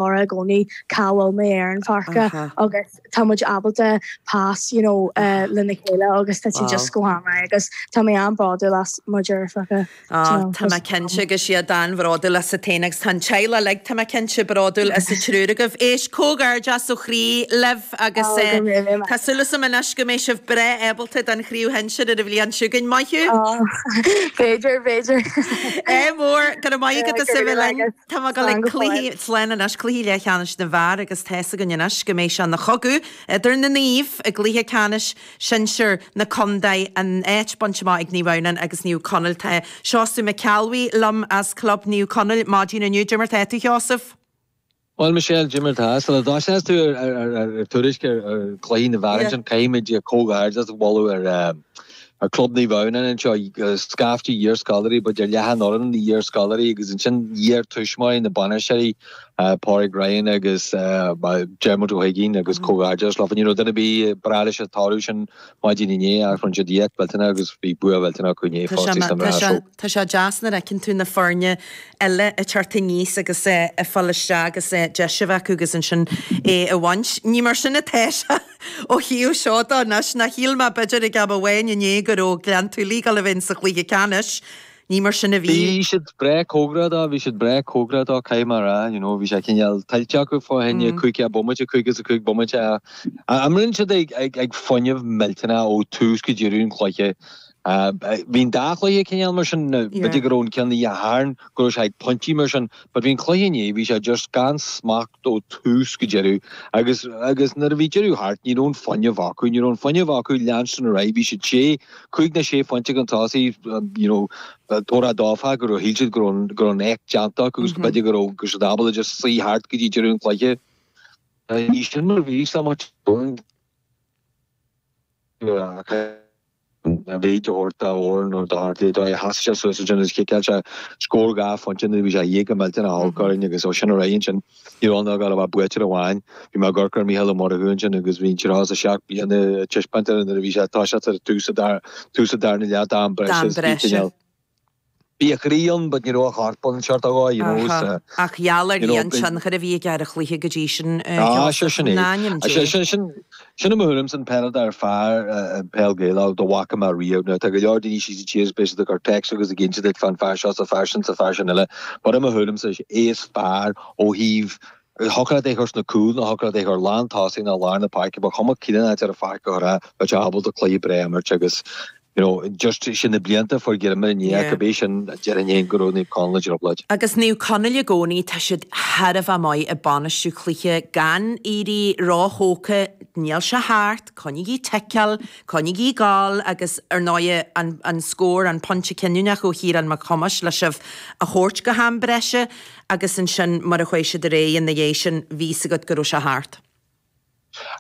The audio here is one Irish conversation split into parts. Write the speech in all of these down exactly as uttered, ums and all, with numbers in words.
i gcónaí cá bhfuil mé ar an pháirc agus tá muid ábalta pass you know uh, lena chéile agus tá just go han agus tá mé an-bhródúil as mo dheirfiúracha. Tá mé cinnte go siad an-bhródúil asat féin agus tá teaghlach like tá mé cinnte bródúil as an triúr agaibh. Éist comhghairdeas ó chroí libh agus Tá súil agam anois go mbeidh sibh breá ábalta don chraobh shinsir ar an bhliain seo chugainn maith thú? B'fhéidir b'fhéidir. É mór go maith go linn Tá go le cluiche slán anois cluiche leathcheannais na bhfear agus tá a fhios againn anois go mbeidh sé ina chogadh idir na naoimh i gcluiche ceannais sinsir na contae an áit bainte amach ag Naomh Adhamhnáin agus Naomh Conaill tá Seosamh Mac Ceallbhuí liom as Club Naomh Conaill maidin inniu Cad é mar tá tú Sheosamh. Well Michelle Cad é mar tá sula dtosaíonn tú ar tuairisc ar chluiche na bhfear sin caithfimid comhghairdeas a mholadh ar ar Club Naomh Adhamhnáin anseo scaifte iarscoláirí b'fhéidir leath an fhoireann iarscoláirí agus ansin iarthuismitheoirí na bainisteoirí Pádraig Ryan agus Dermot Ó hUiginn agus comhghairdeas le you know duine bí breá leis an toradh sin maidin inné ach rinne siad éacht millteanach agus bhí bua millteanach acu inné fosta. Tá sé deas nuair a fheiceann tú na foirne eile ag teacht aníos agus ag fáil isteach agus deis a bheith acu agus ansin é a bhaint. Ní mar sin atá sé ó thaobh seo de anois nach shíl mé b'fhéidir ag am amháin inné go raibh Gleann tSúilí ag dul a bheith sa chluiche ceannais. Ní mar sin a bhí. Bhí siad breá cóngarach dó, bhí siad breá cóngarach dó caithfidh mé a rá, you know, bhí sé cineál tuillte acu fá choinne cúig bomaite cúig is a cúig bomaite Imríonn siad ag ag ag fuinneamh millteanach ó tús go deireadh an chluiche. Bhí an dá chluiche cineál mar sin b'fhéidir go raibh an ceann a tharn go raibh sé ag pointí mar sin, but bhí an cluiche inné bhí sé just gan smacht ó tús go deireadh agus agus nuair a bhí deireadh thart ní raibh an fuinneamh acu, ní raibh an fuinneamh acu leanstan ar aghaidh, bhí siad sé cúig nó sé phointe chun tosaigh you know, tóra dófa go raibh shíl siad go raibh go raibh an éacht déanta acu agus b'fhéidir go raibh go siad ábalta just suí thart go dtí deireadh an chluiche. Ní sin mar bhí so much a bhí thabhairt Odhrán Ó Dochartaigh dó sheas sé suas ansin agus chiceáil sé scór dhá phointe nuair a bhí sé éag go millteanach olc orainn agus ó sin ar aghaidh ansin ní raibh ann ach a bheith buaite ar amháin. Bhí mé ag amharc ar Mícheál Ó Murchú ansin agus bhí an tríocha is a seacht bliana ag taispeáint nuair a bhí sé toiseacht ar tús tús an darna leath d'am breise D'am breise. Bhí a chroí ann, but ní raibh a chorp ann sort of you know. Aha. Ach gheall ar You know, an tionchar a bhí aige ar an chluiche go dtí sin Ah, sure sin é. N'ainm Sin Dé. sin sin sin i mo thuairim an peileadóir fear peil Gaelach dá bhfaca mé riamh. Now tá go leor daoine síos an tír is beidh siad ag cur text agus ag inse duit fán fear seo sa fear sin sa fear sin eile. But i mo thuairim é is fearr ó thaobh thiocfadh leat é chur sna cúil nó thiocfadh leat é chur lán tosaigh nó lár na páirce, ba chuma cén áit ar an pháirc a chur é, bheadh sé ábalta cluiche breá a imirt agus you know, just sin na blianta fuair Gilmer in Yeah. go bé sin déarfainn féin go raibh Naomh Conaill i dtrioblóid. Agus Naomh Conaill i gcónaí tá siad thar a bheith maith ag bainistiú cluiche gan éirí róthógtha, níl sé thart, coinnigí ticeáil, coinnigí gal agus ar ndóigh an, an scór an pointe cinniúnach ó Chiarán Mac Thomáis le sibh a thabhairt go ham breise agus ansin mar a chuaigh siad ar aghaidh ina dhiaidh sin bhí a fhios agat go raibh sé thart.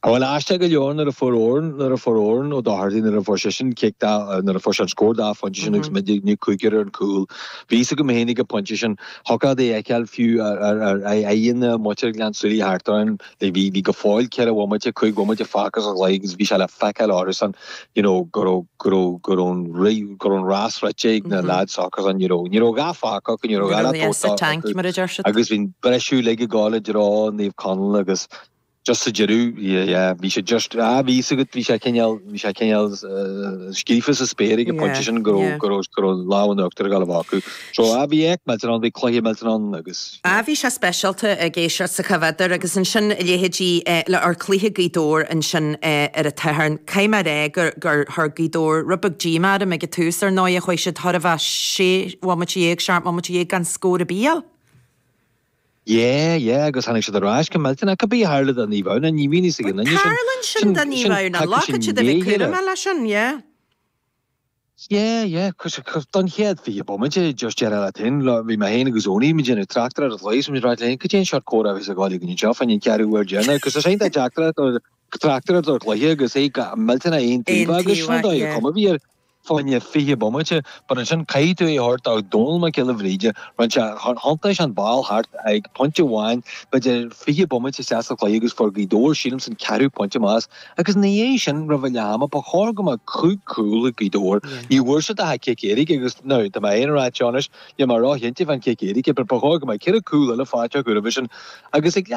A bhfuil aisteach go leor nuair a fuair Odhrán nuair a fuair Odhrán Ó Dochartaigh nuair a fuair sé sin cic dá nuair a fuair sé an scór dá phointe sin agus muid ní cúigear ar an cúl. Bhí a fhios agam féin ag an pointe sin thiocfadh é a fheiceáil fiú ar ar ar aghaidheanna muintir Ghleann tSúilí thart orainn bhí bhí go fóill ceithre bhomaite cúig bhomaite fágtha sa chluiche agus bhí sé le feiceáil orthusan you know go raibh go raibh go raibh an ri go raibh an rás rite ag na lads s'acusan you know ní raibh dhá fágtha acu ní raibh Ní dhá raibh le sa tabhairt tank acu mar a deir siad. agus bhí an briseadh uilig ag gabháil i dtreo Naomh Conaill agus just sa deireadh yeah yeah bhí sé just ah bhí a fhios agat bhí sé cineál bhí sé cineál uh, scríofa sa spéir ag an Yeah, pointe sin go raibh yeah. go raibh go raibh lámh in uachtar ag gabháil a bheith acu. So ah bhí éacht millteanach ann bhí cluiche millteanach ann agus A bhí sé speisialta ag éisteacht sa chomhfheidir agus ansin leithéidí le ar cluiche Ghaoth Dobhair ansin ar an Satharn. Caithfidh mé a rá gur gur chuir Gaoth Dobhair rud beag díomá orm ag an tús ar ndóigh a chuaigh siad thar a bheith sé bhomaite dhéag seacht mbomaite dhéag gan scór ar bith a fháil. Yeah, yeah, agus tháinig siad ar ais go millteanach cibé a tharla do Naomh Adhamhnáin ní bhíonn a fhios ag an duine sin. Tarlaíonn sin do Naomh Adhamhnáin, glacann siad a bheith cúramach leis sin, yeah. Yeah, yeah, don chéad fiche bomaite just déarfá leat féin, bhí mé féin agus Oní muid déanamh tráchtaireacht ar an chluiche, so muid ag rá léinn, cad é an seort comhrá a bheas ag gabháil againn anseo fá an ceathrú uair deireanach, agus tá sé iontach deacair tráchtaireacht ar chluiche agus é millteanach aon Aon taobh agus sin an taobh, dóigh a yeah. cuma bhí ar fá choinne fiche bomaite, but ansin caithfidh tú é a thabhairt do Dónal Mac Giolla Bhríde, rinne sé, thiontaigh an ball thart ag pointe amháin, b'fhéidir fiche bomaite isteach sa chluiche agus fuair Gaoth Dobhair, sílim, an ceathrú pointe amach as, agus ina dhiaidh sin, roimh a leath ama, ba chóir go mbeadh cúig chúl ag Gaoth Dobhair. Ní bhfuair siad ach an cic éirice agus, now, tá mé féin ag rá seo anois, níl mé róchinnte fán chic éirice, but ba chóir go mbeadh ceithre cúl eile faighte acu roimhe sin agus ag leath